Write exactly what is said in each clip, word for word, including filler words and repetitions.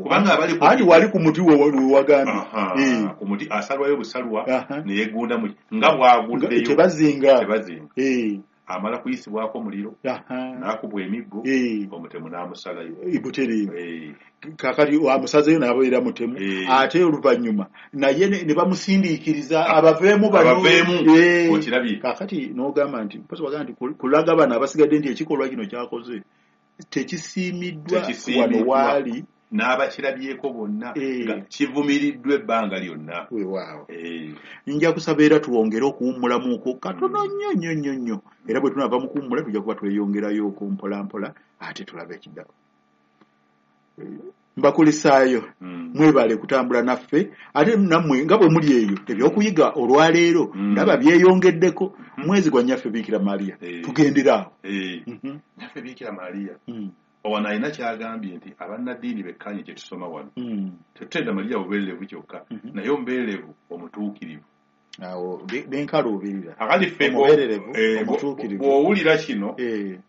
Kubanga abali ku Anti wali ku muti we wagambye. Aha, Eh. ku muti asalwayo busalwa Aha. ne yeegunda mu nga bw'aguddeyo. Tebazinga. Tebazinga. Eh. Amala kuyisibwako muliro, Aha. n'akubwa emiggo, Eh. omutemu n'amusalayo. Butereevu. Eh. Kakati amusazeyo n'abeera mutemu, Eh. ate oluvannyuma naye ne ne bamusindiikiriza abaveemu bano. Abaveemu, Eh. okirabye. Kakati n'ogamba nti mpozi wagamba nti kul- kulaga bano abasigadde nti ekikolwa kino kyakoze tekisiimiddwa Tekisiimiddwa. wano waali. N'abakirabyeko bonna Eh. nga kivumiriddwa ebbanga lyonna. Weewaawo. Eh. Nja kusaba era tuwongere okuwummulamuko katono nnyo nnyo nnyo nnyo, era bwe tunaava mu kuwummula tujja kuba tweyongerayo okwo mpola mpola ate tulabe ekiddako. Mbakulisaayo. Mm. Mwebale kutambula naffe, ate nammwe nga bwe muli eyo ebyokuyiga olwaleero Mm. ndaba byeyongeddeko. Mwezi gwa Nnyaffe Biikira Maria, Eh. tugendera awo. Eh. Mhm. Nnyaffe Biikira Maria Mm. wano alina kyagambye nti abannaddiini bekkaanye kye tusoma wano. Mm. Tetutenda Maria bubeererevu kyokka, Mhm. naye omubeererevu omutuukirivu. Awo be- benkaluubirira. Akati ffe bwo- Omubeererevu, eh, bwo- omutuukirivu. bw'owulira kino, Eh.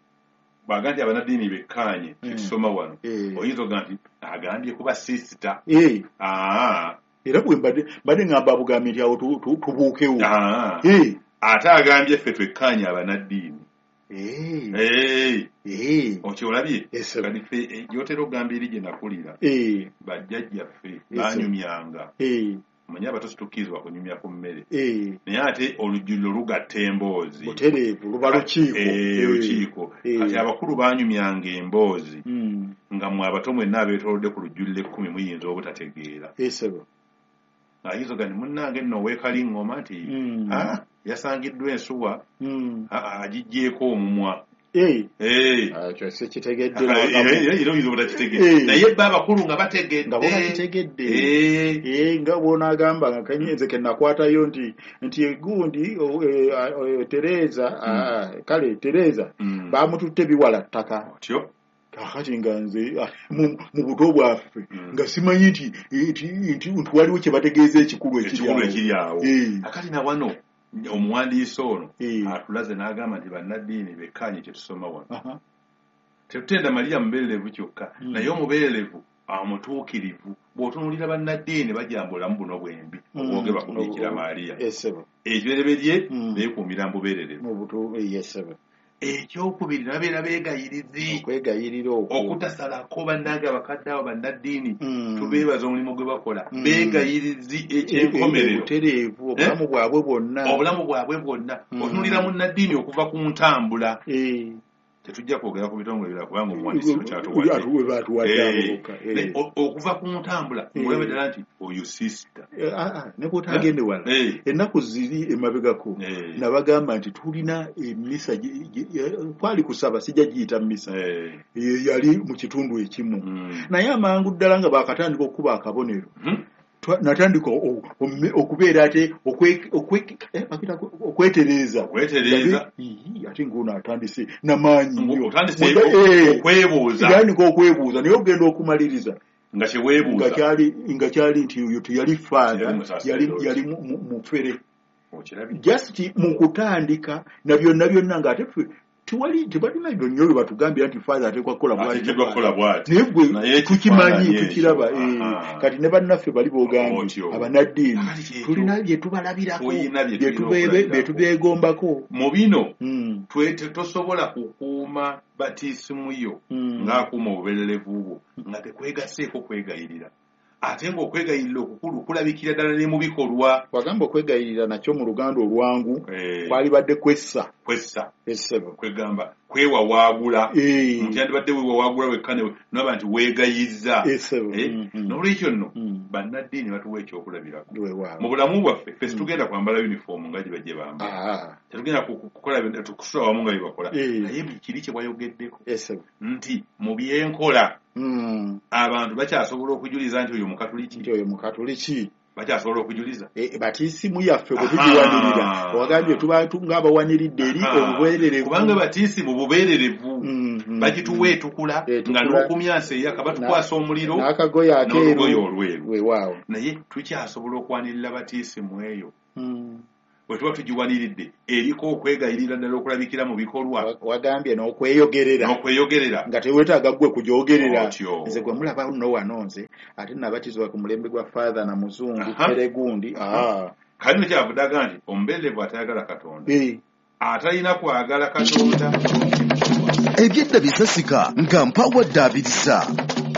bw'aga nti abannaddiini bekkaanye kye Mm. tusoma wano, Eh. oyinza okuga nti agambye kuba siisita. Eh. Ah. Era bwe mbadde mbadde ŋŋamba bugambi nti awo tu- tu- tubuukewo. Ah. Eh. Ate agambye ffe twekkaanye abannaddiini. Eh. Eh. Eh. Okyolabye? Ese. Kati ffe, eh, gy'otera okugamba eri gye nakulira, Eh. bajjajjaffe Ese. baanyumyanga. Eh. Omanyi abato situkkirizibwa kunyumya ku mmere. Eh. Naye ate olujjuliro lugatta emboozi. Butereevu, luba lukiiko. Eh, Eh. lukiiko. Eh. Kati abakulu baanyumyanga emboozi Mm. nga mmwe abato mwenna abeetoolodde ku lujjuliro ekkumi muyinza obutategeera. Esebo. Ayinza ogamba nti munnange nno ow'Ekaliŋŋoma nti, Mm. "Ah, yasangiddwa ensuwa, Mm. ah, ah, agiggyeeko omumwa." Eh. Eh. Ah, ekyo sikitegedde Ah, n'akamu. era era oyinza obutakitegeera. Eh. Naye bo abakulu nga bategedde. Nga bo bakitegedde. Eh. Eh, nga bw'onaagamba nga kanyenze ke nakwatayo nti, nti egundi, o, eh, a, eh, Tereza, Mm. ah, kale Tereza, Mm. baamututte biwala ttaka. Otyo. Kaakati nga nze, ah, mu, mu buto bwaffe, Mm. nga simanyi nti, nti, nti, nti waliwo kye bategeeza ekikulu ekiri Ekikulu awo. ekiri awo. Eh. Akati na wano omuwandiisi ono Eh. atulaze n'agamba nti bannaddiini bekkaanye kye tusoma wano. Aha. Tetutenda Maria mubeererevu kyokka, Mm. naye omubeererevu amutuukirivu. Bw'otunuulira bannaddiini bajamba bulamu buno bwembi Mm. obwogerwa ku Biikira Maria. Esebo. Ekibereberye Mm. beekuumira mu bubeererevu. Mu butu, eh, yesebo. Ekyokubiri babeera beegayirizi. Okwegayirira okwo. Okutasalako bannange abakadde abo bannaddiini Mm. tubeebaza omulimu gwe bakola. Mm. Beegayirizi eky'enkomerero. Obutereevu, obulamu Eh? bwabwe bwonna. Obulamu bwabwe bwonna. Mm. Otunuulira munnaddiini okuva ku ntambula. Eh. Tetujja kwogera ku bitongole birala kubanga omuwandiisi kyatuwadde. Atu-, batuwadde abo Eh. bokka. Eh. Ne, o-, okuva ku ntambula, Eh. ng'olaba ddala nti oyo sister. Eh, ah, ah, ne bw'otagende wala. Eh. Ennaku ziri emabegako, Eh. nabagamba nti tulina emmisa gye-, gye-, eh, kwali kusaba, sijja giyita mmisa. Eh. Eh, yali mu kitundu ekimu. Mm. Naye amangu ddala nga baakatandika okukuba akabonero. Mm. Twa-, natandika o-, o-, okubeera ate okwe-, okwe-, eh, bakiyita kwe-, okwetereeza. Okwetereeza. Ii, ate ng'ono atandise namaanyi nnyo. Otandise Munda, eh, okwebuuza. Yatandika okwebuuza, naye ogenda okumaliriza. Nga kyeweebuuza. Nga kyali, nga kyali nti oyo teyali father, Yali musaserdooti. yali, yali mu-, mu-, mufere. Okirabye. Just mu kutandika na byonna byonna ng'ate ffe tewali, tebalina nnyo bye batugambira nti father ateekwa kukola bw'ati. Ateekeddwa kukola bw'ati. Naye gwe Naye tukimanyi, ekifaananyi tukiraba, ekyo. eh, Aha. kati ne bannaffe bali boogambye, Otyo. abannaddiini, Kakati kyekyo. tulina bye tubalabirako, Tulina bye bye tulina tubeebe-, okulabirako. bye tubeegombako. Mu bino, Mm. twe-, tosobola kukuuma batiisimu yo Mm. ng'akuuma obubeererevu bwo, nga tekwegaseeko kwegayirira. Ate ng'okwegayirira okukulu kulabikira ddala ne mu bikolwa. Wagamba okwegayirira nakyo mu Luganda olwangu, Eh. kwalibadde kwessa. Kwessa. Essebo. Kwegamba, kwewawaagula. Eh. Nti yandibadde weewawaagula wekka ne n'oba nti weegayizza. Essebo. Eh. Mm-hmm. N'olwekyo nno, Mm. bannaddiini batuwa ekyokulabirako. Weewaawo. Mu bulamu bwaffe, ffe Mm. situgenda kwambala uniform nga gye bajje bambala. Ah. Tetugenda ku-, ku-, kukola bintu, kusula wamu nga bye bakola. Eh. Naye kiri kye wayogeddeko. Essebo. Nti mu byenkola, Mm. abantu bakyasobola okujuliza nti oyo Mukatuliki. Nti oyo Mukatuliki. Bakyasobola okujuliza. E, batiisimu yaffe bwe Aha. tugiwanirira. Wagambye tuba tu-, ng'abawaniridde eri Aha. obubeererevu. Kubanga batiisimu bubeererevu. Mm, mm, Bagituwa mm. etukula, Etukula. nga n'okumyansa eyaka batukwasa omuliro, N'akagoye akeeru. n'olugoye olweru. Weewaawo. Naye tukyasobola okwanirira batiisimu eyo. Mm. bwe tuba tugiwaniridde eriko okwegayirira ddala okulabikira mu bikolwa. Wagambye n'okweyogerera. N'okweyogerera. Nga teweetaaga ggwe kugyogerera. Nze gwe mulaba nno wano nze ate nabatizibwa ku mulembe gwa Father na Muzungu Peregundi. Kale kyavudde aga nti omubeerevu atayagala Katonda atalina kwagala Katonda. Ebyedda bisasika nga mpawadde abirisa.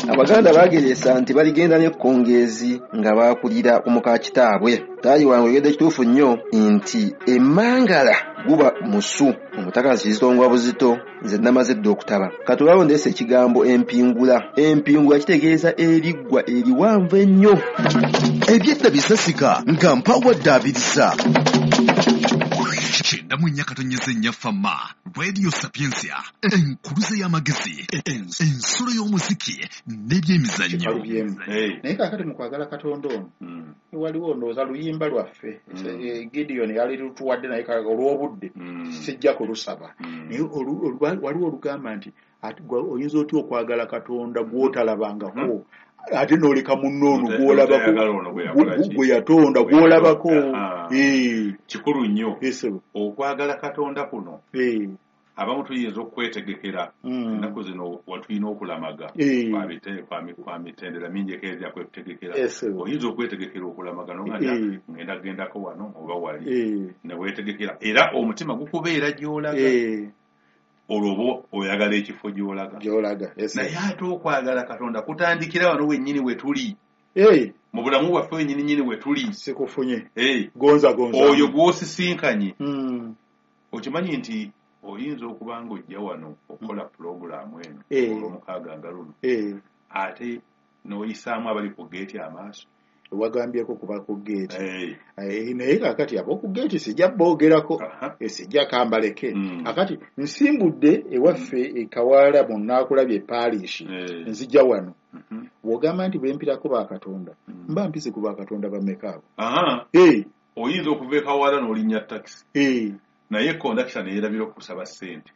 Abaganda bageresa nti baligenda n'ekkongeezi nga baakulira omuka kitaabwe. Taayi wange oyogedde kituufu nnyo nti emmangala guba musu, omutaka kizitongwa buzito, nze namaze dda okutaba. Katulabo ndeese ekigambo empingula. Empingula kitegeeza eriggwa eriwanvu ennyo. Ebyedda bisasika nga mpawadde abirisa. Kyenda mu nnya katonyeze nnya Fama, Radio Sapientia, enkuluze y'amagezi, ensulo y'omuziki n'ebyemizannyo. Naye kaakati mu kwagala Katonda ono, waliwo ndowooza luyimba lwaffe, Gideon yali lutuwadde naye olw'obudde sijja kulusaba. Naye waliwo olugamba nti oyinza otya okwagala Katonda gw'otalabangako ate n'oleka munno ono gw'olabako gwe yatonda gw'olabako. Kikulu nnyo okwagala Katonda kuno. Abamu tuyinza okwetegekera ennaku zino watulina okulamaga kwa mitendera mingi ekeezya kwetegekera. Oyinza okwetegekera okulamaga n'ogamba ngenda gendako wano oba wali ne weetegekera, era omutima gukubeera gy'olaga. Olwo oba oyagala ekifo gy'olaga. Naye ate okwagala Katonda kutandikira wano wennyini we tuli. Mu bulamu bwaffe wennyini nnyini we tuli. Sikufunye. Gonza gonza. Oyo gw'osisinkanye. Okimanyi nti oyinza okuba ng'ojja wano okukola pulogulaamu eno olw'omukaaga nga luno, ate n'oyisaamu abali ku geeti amaaso. Wagambyeko kuba ku geeti. Naye kaakati ab'oku geeti sijja boogerako, sijja kambaleke. Akati nsimbudde ewaffe e Kawaala mu Nnaakulabye Parish, nzija wano. Bw'ogamba nti bwe mpirako ba Katonda, mba mpise ku ba Katonda bameka abo? Oyinza okuva e Kawaala n'olinnya takisi. Naye kondakita ne yeerabira okusaba ssente.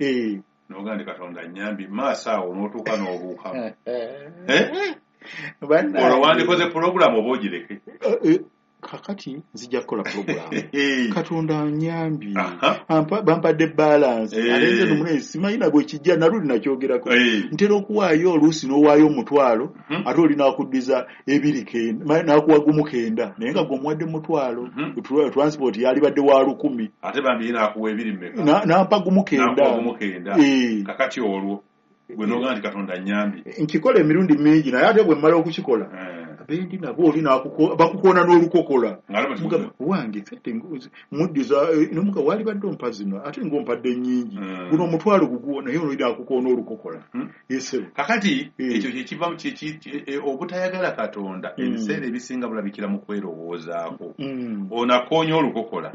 N'ogamba nti Katonda annyambye, maaso awo n'otuuka n'obuukamu. Olwo wandikoze pulogulaamu oba ogireke? Kakati nzija kukola pulogulaamu. Katonda annyambye, bampadde balance. Ate nze n'omunene simanyi na bwe kijja, naluli nakyogerako. Ntera okuwaayo oluusi n'owaayo omutwalo, ate oli n'akuddiza ebiri kenda, n'akuwa gumu kenda. Naye nga gwe omuwadde mutwalo, transport yalibadde wa lukumi. Ate bambi ye n'akuwa ebiri mmeka? N'ampa gumu kenda. N'akuwa gumu kenda. Kakati olwo gwe n'ogamba nti Katonda annyambye. Nkikola emirundi mingi, naye ate bwe mmala okukikola abendi nabo oli bakukoona n'olukokola. Wange fete muddiza nomuga walibadde ompa zino ate ng'ompadde nnyingi, guno omutwalo guguwo, naye oli n'akukoona olukokola. Kakati ekyo kyekiva obutayagala Katonda ebiseera ebisinga bulabikira mu kwerowoozaako. Ono akoonya olukokola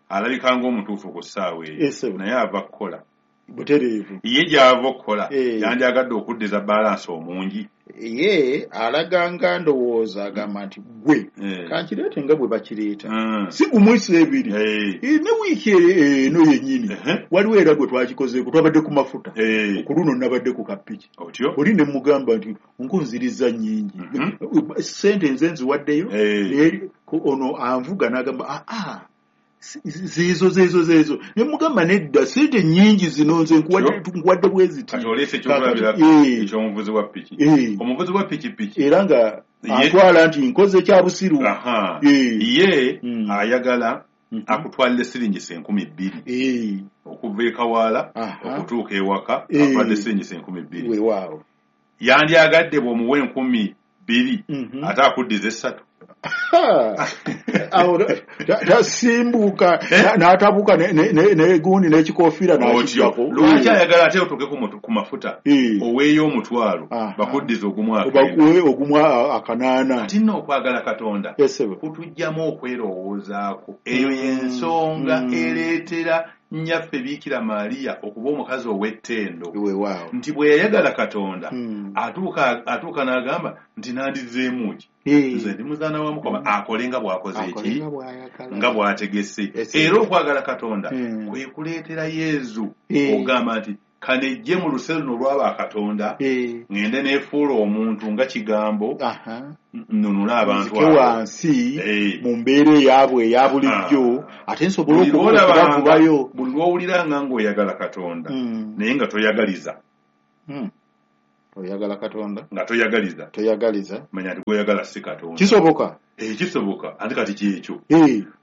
alabika ng'omutuufu ku ssaawa eyo, naye ava kukola butereevu. Ye gy'ava okukola yandyagadde okuddiza balansi omungi. Ye alaga nga ndowooza agamba nti gwe kankireete nga bwe bakireeta, si gumwisa ebiri ne wiiki eno yennyini. Waliwo era gwe twakikozeeko, twabadde ku mafuta, ku luno nabadde ku kapiki. Oli ne mugamba nti nkunziriza nnyingi, ssente nze nziwaddeyo, ono anvuga n'agamba aa zeezo zeezo zeezo, ne mugamba nedda ssente nnyingi zino nze nkuwadde bwe ziti. Kati oleese ekyokulabirako eky'omuvuzi wa piki. Omuvuzi wa pikipiki era nga atwala nti nkoze kya busiru. Ye ayagala akutwalire siringisa enkumi bbiri okuva e Kawaala okutuuka ewaka, akutwalire siringisa enkumi bbiri. Weewaawo. Yandyagadde bw'omuwa enkumi bbiri ate akuddiza essatu. Tasimbuka n'atabuka negundi n'ekikofiira n'akiggyako. Lwaki ayagala ate otuuke ku mafuta oweeyo omutwalo bakuddiza ogumu ogumu akanaana. Ati nno okwagala Katonda kutuggyamu okwerowoozaako. Eyo y'ensonga ereetera nnyaffe Biikira Maria okuba omukazi ow'ettendo. Nti bwe yayagala Katonda atuuka atuuka n'agamba nti nandizzeemu ki, nze ndi muzaana wa Mukama, akole nga bw'akoze eki nga bw'ategese. Era okwagala Katonda kwe kuleetera Yezu ogamba nti Kanejje mu luse luno olwaba Katonda ngende neefuula omuntu nga kigambo nnunula abantu abo wansi mu mbeera eyaabwe eya bulijjo ate nsobole okubavubayo. Buli lw'owuliranga ng'oyagala Katonda naye nga toyagaliza, oyagala Katonda nga toyagaliza, toyagaliza, manya nti gw'oyagala si Katonda. Kisoboka? Eh, kisoboka. Ate kati kyekyo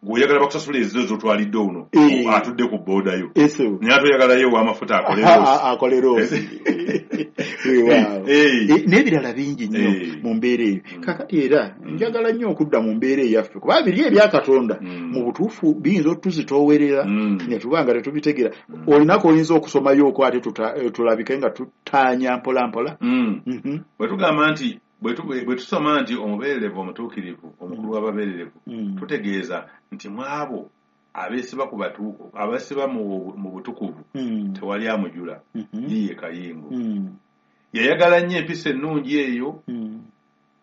gw'oyagala bakusasula ezizo z'otwalidde ono atudde ku booda yo, naye ate oyagalayo ow'amafuta akole roosi. N'ebirala bingi nnyo mu mbeera eyo. Kaakati era njagala nnyo okudda mu mbeera eyaffe, kuba biri ebya Katonda mu butuufu biyinza otuzitoowerera ne tuba nga tetubitegeera. Olinako oyinza okusomayo ate tulabike nga tutaanya mpola mpola. Bwe tugamba nti bwe tusoma nti omubeererevu omutuukirivu omukulu w'ababeererevu, tutegeeza nti mu abo abeesiba ku batuuku abeesiba mu butukuvu tewali amujula, ye Kayingo. Yayagala nnyo empisa ennungi eyo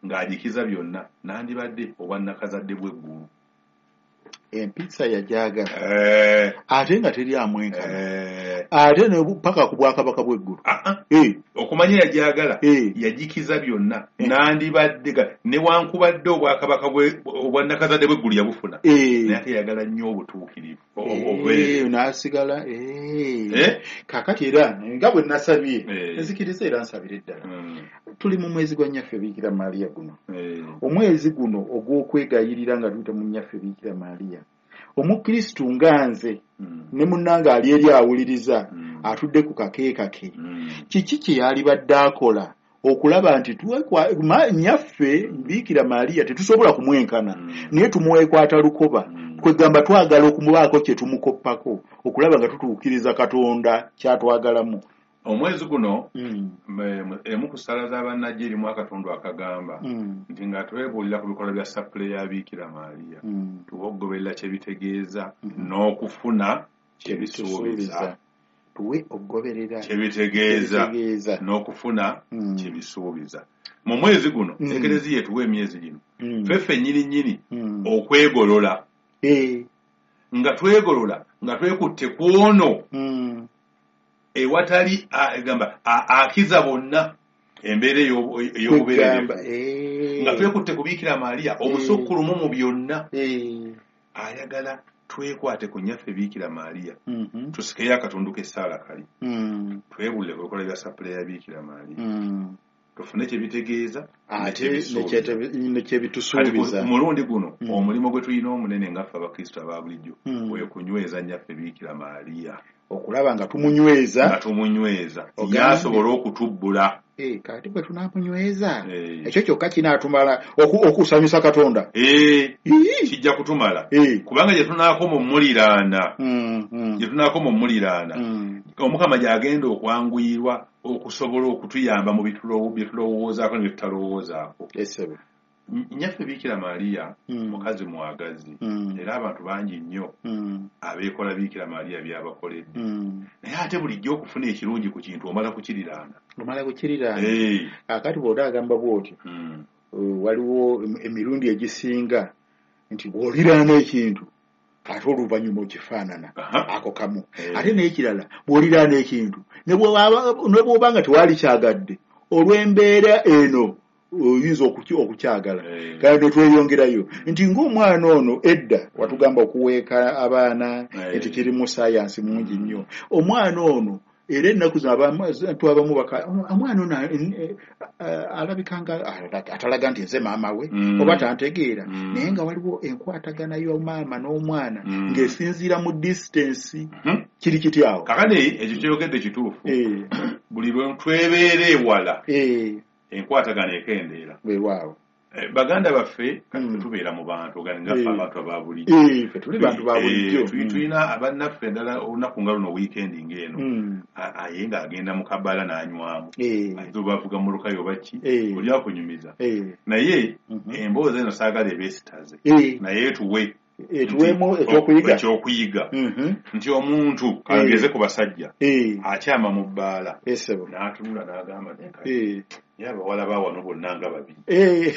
ng'agikiza byonna, nandibadde obwannakazadde bw'eggulu. Empisa yajagala ate nga teri amwenkana, ate ne paka ku bwakabaka bw'eggulu. Okumanya yajagala yagikiza byonna, nandibadde newankubadde obwakabaka obwannakazadde bw'eggulu yabufuna, naye ate yagala nnyo obutuukirivu n'asigala. Kaakati era nga bwe nasabye nzikiriza era nsabire ddala, tuli mu mwezi gwa Nnyaffe Biikira Maria guno, omwezi guno ogw'okwegayirira nga tuyita mu Nnyaffe Biikira Maria. Omukristu nga nze ne munnange ali eri awuliriza atudde ku kakeekake, kiki kye yalibadde akola okulaba nti Nnyaffe Biikira Maria tetusobola kumwenkana, naye tumwekwata lukoba, kwegamba twagala okumubaako kye tumukoppako okulaba nga tutuukiriza Katonda kyatwagalamu. Omwezi guno emu ku ssala z'abannajja erimu akatundu akagamba nti nga twebuulira ku bikolwa bya sappule ya Biikira Maria, tuwe okugoberera kye bitegeeza n'okufuna kye bisuubiza. Tuwe okugoberera kye bitegeeza n'okufuna kye bisuubiza. Mu mwezi guno Ekereziya etuwa emyezi gino ffe ffennyini nnyini okwegolola, nga twegolola nga twekutte ku ono ewatali egamba akiza bonna embeera ey'obubeererevu, nga twekutte ku Biikira Maria omusukkulumu mu byonna. Ayagala twekwate ku Nnyaffe Biikira Maria, tusikeyo akatundu k'essaala kali, twebuulire ku bikolwa bya sappule ya Biikira Maria, tufune kye bitegeeza ate ne kye bitusuubiza. Ku mulundi guno omulimu gwe tulina omunene nga ffe Abakristo aba bulijjo kwe kunyweza Nnyaffe Biikira Maria, okulaba nga tumunyweza, nga tumunyweza yasobola okutubbula. Eh, kati bwe tunaamunyweza ekyo kyokka kinaatumala okusanyusa Katonda. Eh, kijja kutumala, kubanga gye tunaakoma omuliraana, gye tunaakoma omuliraana Omukama gy'agenda okwanguyirwa okusobola okutuyamba mu bye tulowoozaako ne bye tutalowoozaako. Nnyaffe Biikira Maria mukazi mwagazi, era abantu bangi nnyo abeekola Biikira Maria by'abakoledde, naye ate bulijjo okufuna ekirungi ku kintu omala kukiriraana, omala kukiriraana. Kaakati bw'oba agamba bw'otyo, waliwo emirundi egisinga nti bw'oliraana ekintu ate oluvannyuma okifaanana ako kamu. Ate n'ekirala bw'oliraana ekintu ne bw'oba nga tewaali kyagadde olw'embeera eno oyinza okukyagala. Kale ne tweyongerayo nti ng'omwana ono edda watugamba okuweeka abaana nti kiri mu sayansi mungi nnyo. Omwana ono era ennaku zino abantu abamu omwana ono alabika nga atalaga nti nze maama we oba tantegeera, naye nga waliwo enkwatagana y'omaama n'omwana ng'esinziira mu distance. Kiri kiti awo? Kakati ekyo ky'oyogedde kituufu. Buli lwe twebeera ewala enkwatagana ekendeera. Weewaawo. Baganda baffe kati tubeera mu bantu ngaffe abantu aba bulijjo, tuli bantu ba bulijjo, tulina bannaffe endala olunaku nga luno wiikendi ng'eno aye ng'agenda mu kabaala n'anywamu, ayinza oba avuga mmotoka yo oba ki, oli akunyumiza. Naye emboozi eno saagala ebeesitaze, naye etuwe etuweemu ekyokuyiga, ekyokuyiga nti omuntu kangeze ku basajja akyama mu bbaala n'atunula n'agamba naye abawala ba wano bonna nga babiri,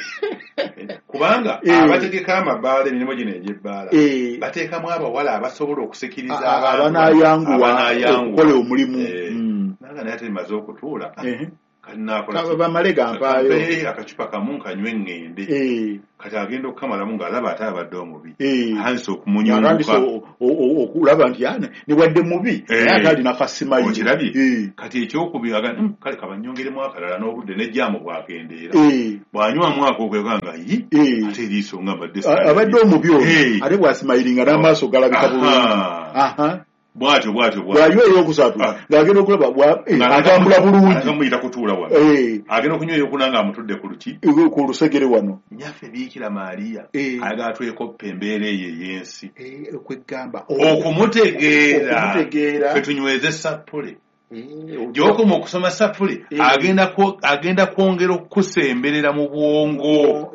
kubanga abategeka amabaala emirimu gino egy'ebbaala bateekamu abawala abasobola okusikiriza abanayanguwa okukola omulimu. Naga naye ate maze okutuula. Bamale gampaayo akacupa kamu nkanywe ŋŋende. Kati agenda okukamalamu ng'alaba ate abadde omubi. Atandise okumunyunguka. Okulaba nti ne wadde mubi naye ate alina kasimayi. Okirabye? Kati ekyokubiri agamba kale kabanyongeremu akalala n'obudde n'ejjaamu bwakendeera. Bw'anywamu ako okwegamba nga yi ate eriiso nga mbadde abadde omubi ono ate bw'asimayiringa n'amaaso galabika bulungi. Bwatyo bwatyo bwatyo. Bw'anywa ey'okusatu ng'agenda okulaba atambula bulungi. Agamuyita kutuula wano. Agenda okunywa ey'okuna ng'amutudde ku luki? Ku lusegere wano. Nnyaffe Biikira Maria ayagala twekoppe embeera eyo ey'ensi. Okwegamba. Okumutegeera. Okumutegeera. Ffe tunyweze sappule. Gy'okoma okusoma sappule agenda kwongera okukusemberera mu bwongo.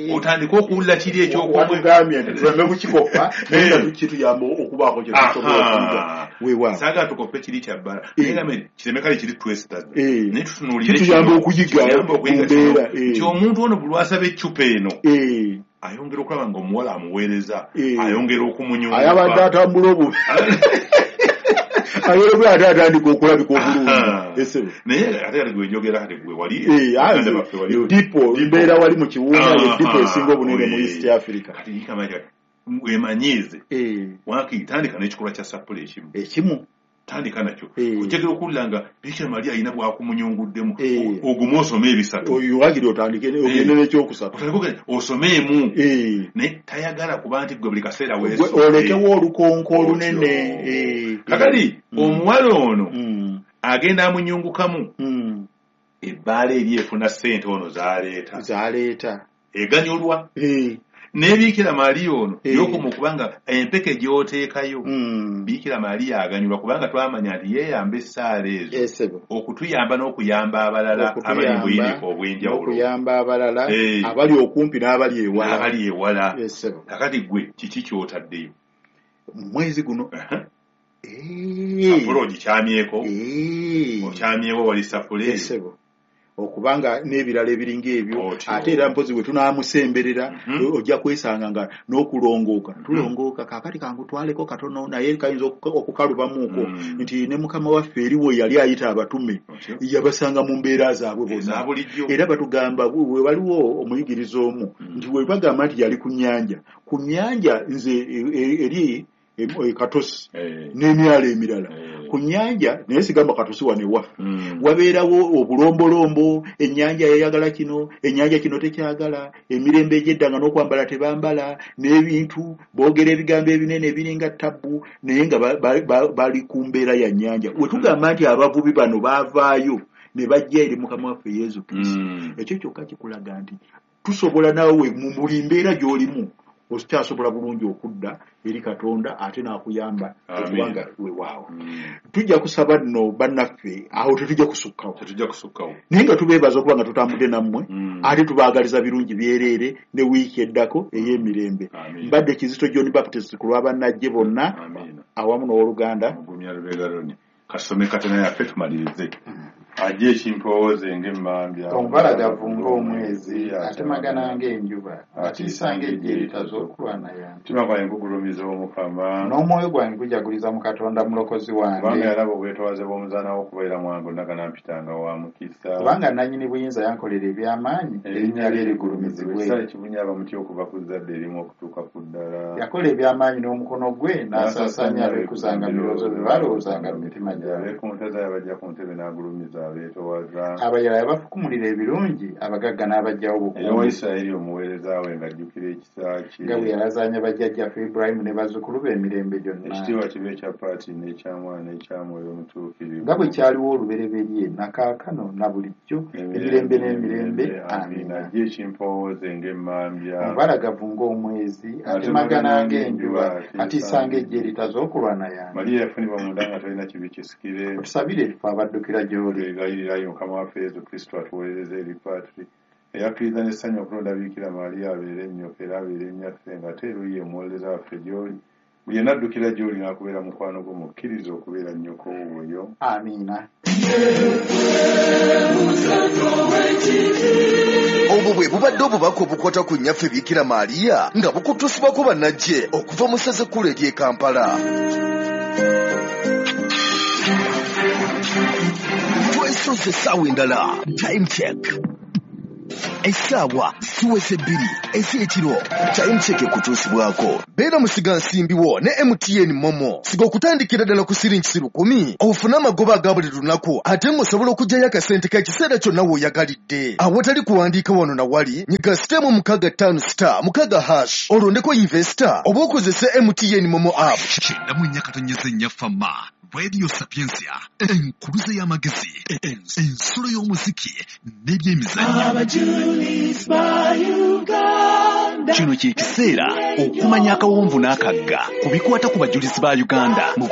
Otandika okuwulira kiri eky'okumugambye nti tuleme kukikoppa naye nga kituyamba okubaako kye tusobola okuyiga. Weewaawo. Saagala tukoppe kiri kya bbala. Naye gambe kireme kale kiri twesitaza. Naye tutunuulire kituyamba okuyiga ku mbeera. Nti omuntu ono buli lw'asaba eccupa eno ayongera okulaba ng'omuwala amuweereza, ayongera okumunyunguka. Ayabadde atambula obubi. Ayongera ate atandika okulabika obulungi. Naye ate kati gwe njogera kati gwe wali dipo mbeera wali mu kiwuuna ye dipo esinga obunene mu East Africa. Kati yikamanya wemanyiize waakiri tandika n'ekikolwa kya sappule ekimu. Ekimu. Tandika nakyo. Ojjagala okuwulira nga Biikira Maria alina bw'akumunyunguddemu ogume osome ebisatu. Waakiri otandike ogende n'ekyokusatu. Otandike osomeemu. Naye tayagala kuba nti gwe buli kaseera weesudde. Olekewo olukonko olunene. Kakati omuwala ono agenda amunyungukamu ebbaala eri efuna ssente ono z'aleeta. Z'aleeta. Eganyulwa. Naye Biikira Maria ono y'okoma okubanga empeke gy'oteekayo Biikira Maria aganyulwa kubanga twamanya nti yeeyamba essaala ezo okutuyamba n'okuyamba abalala abali mu buyinike obw'enjawulo. Okuyamba abalala abali okumpi n'abali ewala. N'abali ewala. Kakati gwe kiki ky'otaddeyo? Mu mwezi guno. Sappule ogikyamyeko. Okyamyewo wali sappule. Okubanga n'ebirala ebiringa ebyo ate era mpozi bwe tunaamusemberera ojja kwesanga nga n'okulongooka tulongooka kaakati kankutwaleko katono naye kayinza okukalubamuuko nti ne Mukama waffe eriwo yali ayita abatume yabasanga mu mbeera zaabwe bonna era batugamba we waliwo omuyigiriza omu nti we bagamba nti yali ku nnyanja ku nnyanja nze eri Katosi n'emyalo emirala ku nnyanja naye sigamba Katosi wano ewaffe wabeerawo obulombolombo ennyanja yayagala kino ennyanja kino tekyagala emirembe egy'edda nga n'okwambala tebambala n'ebintu boogera ebigambo ebinene ebiringa tabbu naye nga bali ku mbeera ya nnyanja we tugamba nti abavubi bano baavaayo ne bajja eri Mukama waffe Yesu Kristo ekyo kyokka kikulaga nti tusobola naawe mu buli mbeera gy'olimu okyasobola bulungi okudda eri Katonda ate n'akuyamba okubanga weewaawo. Tujja kusaba nno bannaffe awo tetujja kusukkawo. Tetujja kusukkawo. Naye nga tubeebaza okuba nga tutambudde nammwe ate tubaagaliza birungi byereere ne wiiki eddako ey'emirembe. Mbadde Kizito John Baptist ku lw'abannajje bonna awamu n'owooluganda. Mugumya Lubega Ronnie. Kasome katana yaffe tumalirize. Ajje ekimpowooze ng'emmambya. Omubalagavu ng'omwezi, atemagana ng'enjuba, atiisa ng'eggye eritaza okulwana yange. Omutima gwange gugulumiza Omukama. N'omwoyo gwange gujaguliza mu Katonda Mulokozi wange. Kubanga yalaba obwetoowaze bw'omuzaana we okubeera mwangu naganampitanga wa mukisa. Kubanga nannyini buyinza yankolera eby'amaanyi, erinnya lye ligulumizibwe. Ekisale kibunya abamuti okuva ku zzadde erimu okutuuka ku ddala. Yakola eby'amaanyi n'omukono gwe, n'asaasaanya abeekuzanga birowoozo bye balowoozanga mu mitima gyabwe. Abeekuntaza yabajja ku ntebe n'agulumiza abeetoowaza. Abayala yabafukumulira ebirungi, abagagga n'abaggyawo obukuumi. Eyawa Isirayiri omuweereza we ng'ajjukira ekisa kye. Nga bwe yalazaanya bajjajjaffe Ibulayimu ne bazzukulu be emirembe gyonna. Ekitiibwa kibe ekya Paati n'ekya Mwana n'ekya Mwoyo Mutuukirivu. Nga bwe kyaliwo olubereberye na kaakano na bulijjo emirembe n'emirembe. Amiina. Ajje ekimpowooze ng'emmambya. Omubalagavu ng'omwezi, atemagana ng'enjuba, atiisa ng'eggye eritaza okulwana yange. Mariya yafunibwa munda nga talina kibi kisikire. Otusabire ffe abaddukira gy'oli. Twegayirira Mukama waffe Yesu Kristo atuweereze eri Patri eyakkiriza n'essanyu okulonda Biikira Maria abeere ennyoko era abeere nnyaffe ng'ate eruuyi omuwolereza waffe gy'oli. Buli yenna addukira gy'oli n'akubeera mukwano gwo mukkiriza okubeera nnyoko wuuyo. Amiina. Obwo bwe bubadde obubaka obukwata ku nnyaffe Biikira Maria nga bukutusibwako bannajje okuva mu ssaza ekkulu ery'e Kampala. Soze essaawa endala. Time check. Essaawa ziweze bbiri ez'ekiro. Time check ekutuusibwako. Beera musigansimbi wo ne M T N Momo. Siga okutandikira ddala ku siringi lukumi ofune amagoba aga buli lunaku ate ng'osobola okuggyayo akasente k'ekiseera kyonna w'oyagalidde. Awatali kuwandiika wano na wali, nyiga sitemu mukaaga ttaano star mukaaga hash olondeko investor oba okozese M T N Momo app. Kyenda mu nnya katonyeze nnya Fama. Radio Sapientia, enkuluze y'amagezi, ensulo y'omuziki n'ebyemizannyo. Kino kye kiseera okumanya akawonvu n'akagga ku bikwata ku bajulizi ba Uganda mu